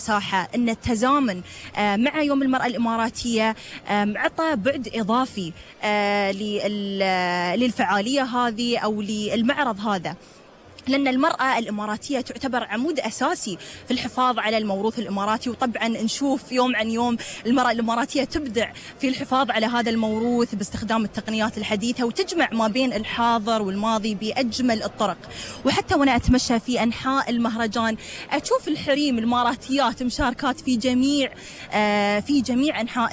مساحة أن التزامن مع يوم المرأة الإماراتية عطى بعد إضافي للفعالية هذه أو للمعرض هذا، لأن المرأة الإماراتية تعتبر عمود أساسي في الحفاظ على الموروث الإماراتي. وطبعا نشوف يوم عن يوم المرأة الإماراتية تبدع في الحفاظ على هذا الموروث باستخدام التقنيات الحديثة، وتجمع ما بين الحاضر والماضي بأجمل الطرق. وحتى وأنا أتمشى في أنحاء المهرجان أشوف الحريم الإماراتيات مشاركات في جميع أنحاء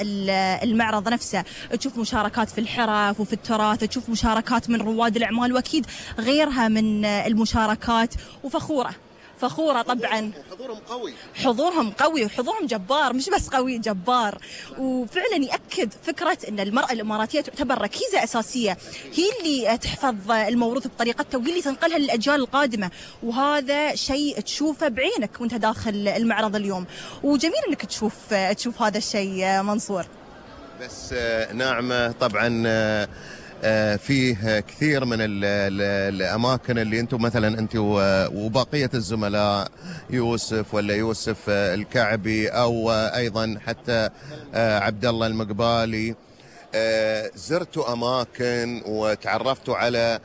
المعرض نفسه. تشوف مشاركات في الحرف وفي التراث، تشوف مشاركات من رواد الأعمال وأكيد غيرها من المشاركات. فخورة طبعا. حضورهم قوي وحضورهم جبار، مش بس قوي، جبار. وفعلا يأكد فكرة أن المرأة الإماراتية تعتبر ركيزة أساسية، هي اللي تحفظ الموروث بطريقتها وهي اللي تنقلها للأجيال القادمة. وهذا شيء تشوفه بعينك وانت داخل المعرض اليوم، وجميل أنك تشوف هذا الشيء منصور. بس نعمة طبعا فيه كثير من الأماكن اللي أنتم مثلا أنت وبقية الزملاء يوسف الكعبي أو أيضا حتى عبد الله المقبالي زرتوا أماكن وتعرفتوا على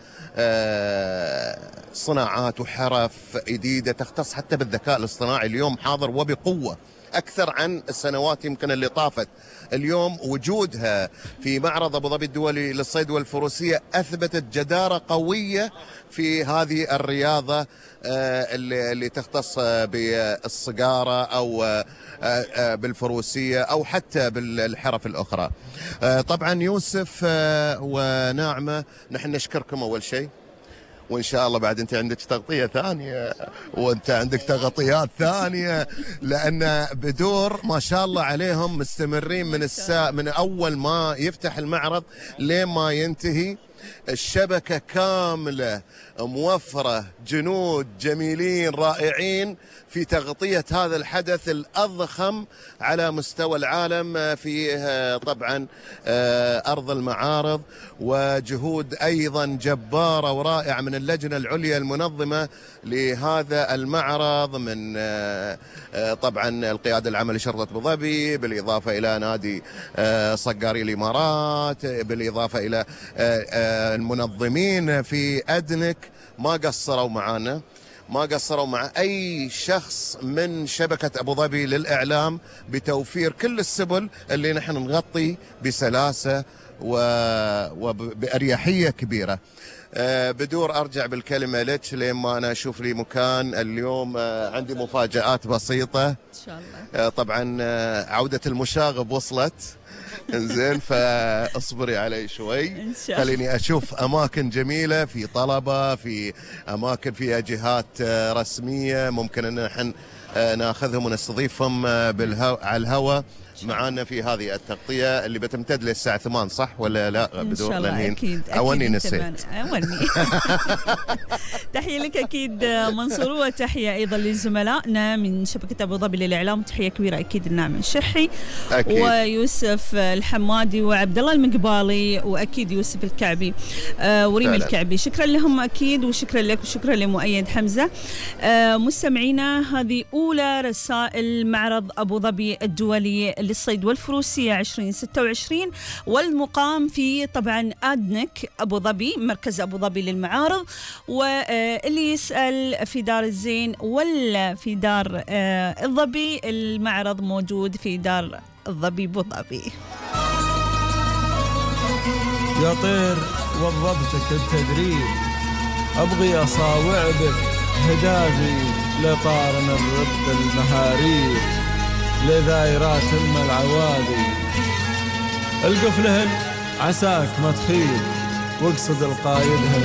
صناعات وحرف جديدة تختص حتى بالذكاء الاصطناعي. اليوم حاضر وبقوة أكثر عن السنوات يمكن اللي طافت. اليوم وجودها في معرض أبو ظبي الدولي للصيد والفروسية أثبتت جدارة قوية في هذه الرياضة اللي تختص بالصقارة أو بالفروسية أو حتى بالحرف الأخرى. طبعا يوسف وناعمة نحن نشكركم أول شيء، وإن شاء الله بعد أنت عندك تغطية ثانية وأنت عندك تغطيات ثانية، لأن بدور ما شاء الله عليهم مستمرين من أول ما يفتح المعرض لين ما ينتهي. الشبكة كاملة موفرة، جنود جميلين رائعين في تغطية هذا الحدث الأضخم على مستوى العالم في طبعا أرض المعارض، وجهود أيضا جبارة ورائعة من اللجنة العليا المنظمة لهذا المعرض، من طبعا القيادة العامة لشرطة أبو ظبي، بالإضافة إلى نادي صقاري الإمارات، بالإضافة إلى المنظمين في أدنك. ما قصروا معنا، ما قصروا مع أي شخص من شبكة أبو ظبي للإعلام بتوفير كل السبل اللي نحن نغطي بسلاسة وبأريحية كبيرة. بدور أرجع بالكلمة لك لما أنا أشوف لي مكان. اليوم عندي مفاجآت بسيطة إن شاء الله. طبعا عودة المشاغب وصلت انزين، فاصبري علي شوي، خليني اشوف اماكن جميله في طلبه، في اماكن فيها جهات رسميه ممكن ان نحن ناخذهم ونستضيفهم على الهواء معانا في هذه التغطية اللي بتمتد للساعة 8 صح ولا لا؟ إن شاء الله أكيد. أولي نسيت. تحية لك أكيد منصور، وتحية أيضا لزملائنا من شبكة أبو ظبي للإعلام. تحية كبيرة أكيد الناعم الشحي أكيد، ويوسف الحمادي وعبد الله المقبالي، وأكيد يوسف الكعبي وريم الكعبي. شكرا لهم أكيد، وشكرا لك وشكرا لمؤيد حمزة. مستمعينا، هذه أولى رسائل معرض أبو ظبي الدولي للصيد والفروسية 2026، والمقام في طبعا أدنك أبو ظبي، مركز أبو ظبي للمعارض. واللي يسأل في دار الزين ولا في دار الظبي، المعرض موجود في دار الظبي أبو ظبي. يا طير وظبتك التدريب، أبغي أصاوع بك هدافي لطارن الرب المهاريب، لذايرات العوادي القفلهن عساك ما تخيب، واقصد القايدهن